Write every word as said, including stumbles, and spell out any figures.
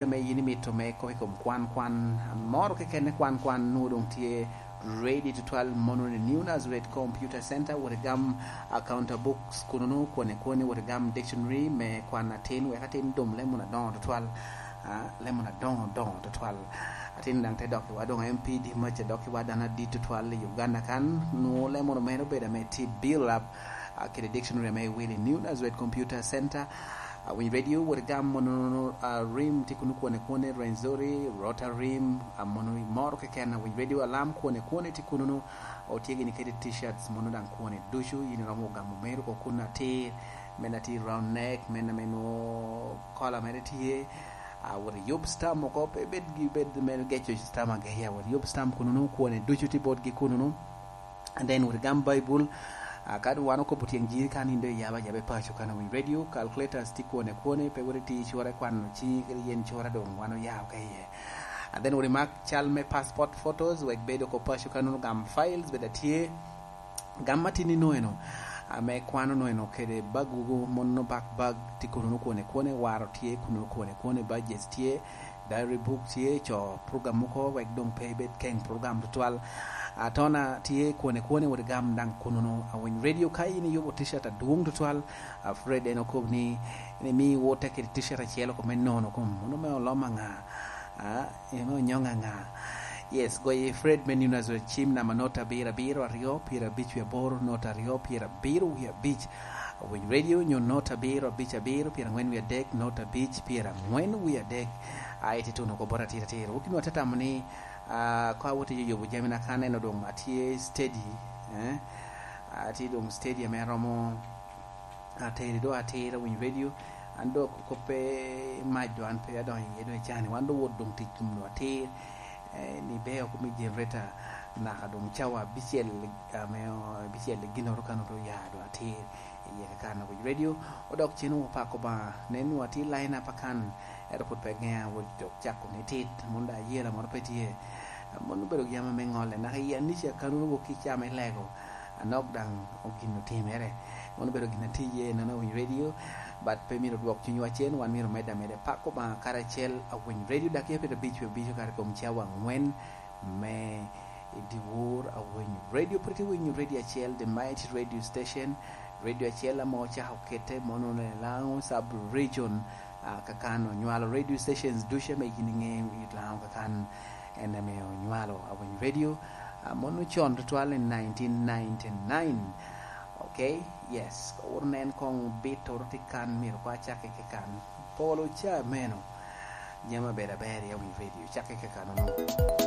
ame yin imito me kop i kom kwan kwan moro keken, kwan kwan nwo doŋ tye ready tutwal. Mono ni New Nazareth Computer Center, wot igam, ah, counter books kununu, kwone kwone, wot igam dictionary me kwan atin, wek atin dum lemo na doŋo tutwal, ah, lemo na doŋo doŋo tutwal. Atin daŋ te dok iwa doŋ M P D mac, dok iwa dano adit tutwal i Uganda kan, nwo lemo mere obedo ame tye build up, ah, kede dictionary ame iwilo i New Nazareth Computer Center. Ah, Winy Radio, wot igam mono, ah, rim tye kunu kwone kwone, Rwenzori, Rota rim, ah, mono moro keken, ah, Winy Radio alam kwone kwone tye kununu, otye gini kede t-shirts mono daŋ kwone ducu, yin iromo gamo meri oko kun atir, men atir round neck, men ame nwo kola mere tye, ah, wot iyub stam oko, pe bed gi bed me geco stam ageya, wot iyub stam kununu kwone ducu tye botgi kununu. And then wot igam Baibul, ah, ka doŋ wan okobo tyeŋ jiri kan in doŋ iyaba yaba i paco kan Winy Radio, calculators tye kwone kwone, pe wot iti cura i kwano ciŋi kede yen cura doŋ wan oya oko iye. And then wot imak cal me passport photos, wek bed oko paco kan nwoŋo gam files bed atye. Gam atin ino eno, ame kwano no eno kede bag wugo, mono bag bag tye kununu kwone kwone, waro tye kununu kwone kwone, budgets tye, diary book tye, co program mogo wek doŋ pe ibed keŋ program tutwal. Atona tye kwone kwone, wot igam daŋ kununu. Awiny Radio ka in iyubo t-shirt adwoŋ tutwal, a Fred en okobo ni, ni mi wote kede t-shirt acel oko me nono kom, mono me olom aŋa? Ah, eme onyoŋ aŋa? Yes, goye Fred me New Nazareth, cim namba nota abiro abiro aryo pyera abic wie aboro, nota aryo pyera abiro wie abic. Winy Radio nyo nota abiro abic abiro pyera aŋwen wie adek, nota abic pyera aŋwen wie adek. Aye tye tuno oko bot atira atira. Wok inwa te tamo ni, ah, ko awot i yubo jami na kan eno doŋ atye steady, eh? Atye doŋ steady ame romo ateri do atira Winy Radio. An dok kop pe mac do an pe adonyo iye do icani. Wan do wot doŋ tic tum do atir. Eh, ni beo kumi generator naka doŋ cawa abicel, ame, abicel i ginoro kan oto ya do atir. Iye ka kan Winy Radio. Odok cen opako ba. Nen wa ti line up akan. Ero put pe gea wot dok cako ni tit. Mun da yela moro pe tye. Mun obedo yama me ŋolle. Naka iya ni ca kan wok ki cama ilego. Anok daŋ ogin otimere. Mano obedo gin atiye nono Winy Radio, but pe myero odwok cunywa cen, wan myero omedde ameda. Pako Obaŋa karacel, Awiny Radio, dakika pyerabic wie abic okato i kom cawa aŋwen me i dyewor. Awiny Radio, pwod itye winyo radio acel, the mighty radio station, radio acel ame ocako kete mono i Lango Sub Region, ah, kakan onywalo radio stations ducu ame yin iŋeyo i Lango kakan, en ame onywalo Awiny Radio, ah, mono con tutwal i nineteen ninety-nine. Okay? Yes. Owot nen koŋ bit oro tye kan, myero kwa cak i kan. Polo ca meno. Nyama ber aber i Awiny Radio. Cak i kan ono.